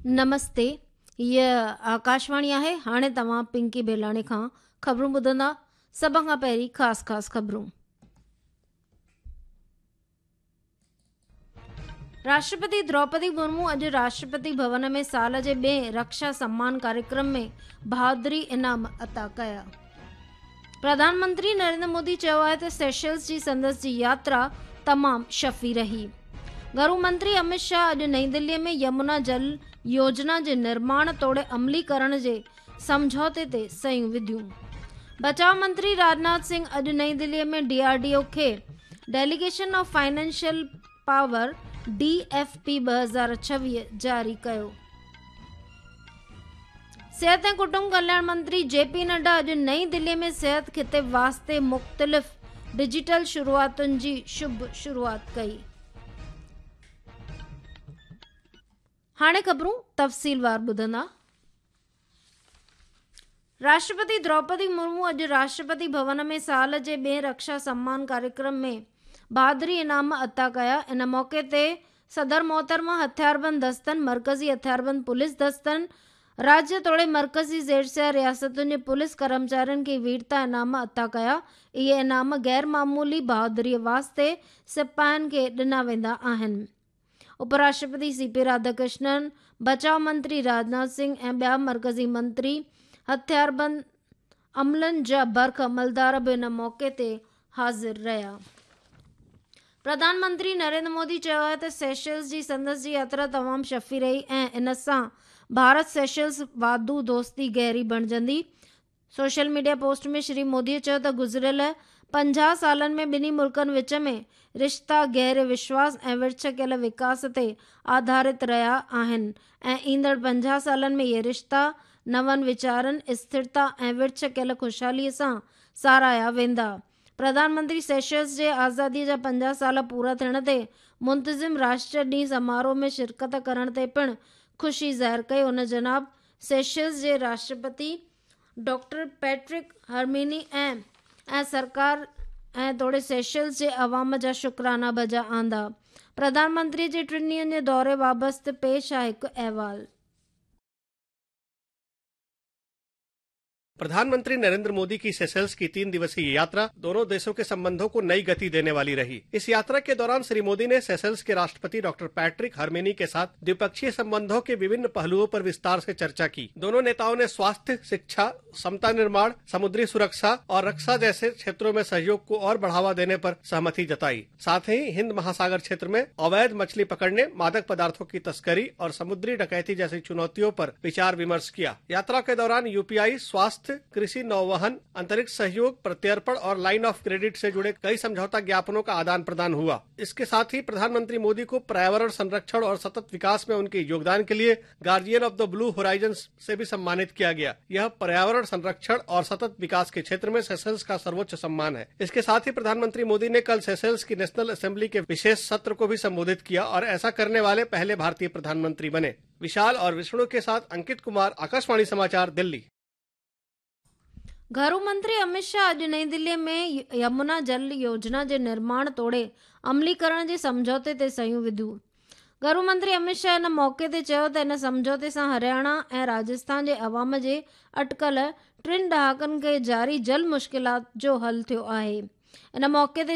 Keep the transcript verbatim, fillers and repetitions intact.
نمستي، هيء آڪاشواڻي آهي. هاڻي توهان پنڪي بيلاڻي کان خبرون ٻڌندا. سڀ کان پهرين خاص خاص خبرون. راشٽرپتي دروپدي مرمو اڄ راشٽرپتي ڀون ۾ سال جي ٻئين رڪشا سمان ڪاريڪرم ۾ بهادري انعام عطا ڪيا. پرڌان منتري نريندر مودي چيو آهي ته سيشلز جي سندس جي ياترا تمام شفي رهي. گهرو منتري امت شاهه اڄ نئين دلي ۾ يمنا جل يوجنا جي نرماڻ توڙي عمليڪرڻ جي سمجهوتي تي صحيحون وڌيون. بچاءُ منتري راجناٿ سنگهه اڄ نئين دلي ۾ ڊي آر ڊي او کي delegation of financial power D F P ٻه هزار ڇويهه جاري ڪيو. صحت ۽ ڪٽنب ڪلياڻ منتري جي پي نڊا اڄ نئين دلي ۾ صحت خطي واسطي مختلف ڊجيٽل شروعاتن جي شڀ شروعات ڪئي. هاڻي خبرون تفصيلوار ٻڌندا. راشٽرپتي دروپدي مرمو اڄ راشٽرپتي ڀون ۾ سال جي ٻئين رڪشا سمان ڪاريڪرم ۾ بهادري انعام عطا ڪيا. ان موقعي تي صدر محترمه هٿياربند دستن، مرڪزي هٿياربند پوليس دستن، راجيه توڙي مرڪزي زيرسيا رياستن جي پوليس ڪرمچارين کي ويرتا انعام عطا ڪيا. اهي انعام غير معمولي بهادريءَ واسطي سپاهين کي ڏنا ويندا آهن. اپراشٽرپتي سي پي راڌاڪرشنن، بچاءُ منتري راجناٿ سنگهه ۽ ٻيا مرڪزي منتري، هٿياربند عملن جا برک عملدار به ان موقعي تي حاضر رهيا. پرڌان منتري نريندر مودي چيو آهي ته سيشلز جي سندس جي ياترا تمام شفي رهي ۽ ان سان ڀارت سيشلز واڌو دوستي گهري بڻجندي. Social media post ۾ Shri Modi چيو ته گذريل پنجاهه سالن ۾ ٻنهي ملڪن وچ ۾ رشتا گهري وشواس ۽ ورڇ ڪيل وڪاس تي آڌارت رهيا آهن ۽ ايندڙ پنجاهه سالن ۾ اهي رشتا نون ويچارن، اسٿرتا ۽ ورڇ ڪيل خوشحاليءَ سان ساراهيا ويندا. پرڌان منتري سيشلز جي آزاديءَ جا پنجاهه سال پورا ٿيڻ تي منتظم راشٽر ڏينهن سماروهه ۾ شرڪت ڪرڻ تي پڻ خوشي ظاهر ڪئي. هن جناب سيشلز جي راشٽرپتي ڊاڪٽر پيٽرڪ هرميني ۽ ۽ سرڪار ۽ توڙي سيشلز جي عوام جا شڪرانا بجا آندا. پرڌان منتري جي ٽن ڏينهن جي دوري بابت پيش آهي هڪ احوال. प्रधानमंत्री नरेंद्र मोदी की सेशल्स की तीन दिवसीय यात्रा दोनों देशों के संबंधों को नई गति देने वाली रही। इस यात्रा के दौरान श्री मोदी ने सेशल्स के राष्ट्रपति डॉक्टर पैट्रिक हर्मेनी के साथ द्विपक्षीय संबंधों के विभिन्न पहलुओं पर विस्तार से चर्चा की। दोनों नेताओं ने स्वास्थ्य, शिक्षा, क्षमता निर्माण, समुद्री सुरक्षा और रक्षा जैसे क्षेत्रों में सहयोग को और बढ़ावा देने पर सहमति जताई। साथ ही हिंद महासागर क्षेत्र में अवैध मछली पकड़ने, मादक पदार्थों की तस्करी और समुद्री डकैती जैसी चुनौतियों पर विचार विमर्श किया। यात्रा के दौरान यूपीआई, स्वास्थ्य, कृषि, नौवहन, अंतरिक्ष सहयोग, प्रत्यर्पण और लाइन ऑफ क्रेडिट से जुड़े कई समझौता ज्ञापनों का आदान प्रदान हुआ। इसके साथ ही प्रधानमंत्री मोदी को पर्यावरण संरक्षण और सतत विकास में उनके योगदान के लिए guardian of the blue horizon से भी सम्मानित किया गया। यह पर्यावरण संरक्षण और सतत विकास के क्षेत्र में सेशल्स का सर्वोच्च सम्मान है। इसके साथ ही प्रधानमंत्री मोदी ने कल सेशल्स की नेशनल असेंबली के विशेष सत्र को भी संबोधित किया और ऐसा करने वाले पहले भारतीय प्रधानमंत्री बने। विशाल और विष्णु के साथ अंकित कुमार, आकाशवाणी समाचार, दिल्ली। घरू मंत्री अमित शाह अॼु नई दिल्लीअ में यमुना जल योजना जे निर्माण तोड़े अमलीकरण जे समझौते ते सहियूं विधियूं। घरू मंत्री अमित शाह इन मौक़े ते चयो त इन समझौते सां हरियाणा ऐं राजस्थान जे अवाम जे अटकल टिनि ॾहाकनि खे जारी जल मुश्किलात जो हल थियो आहे। इन मौक़े ते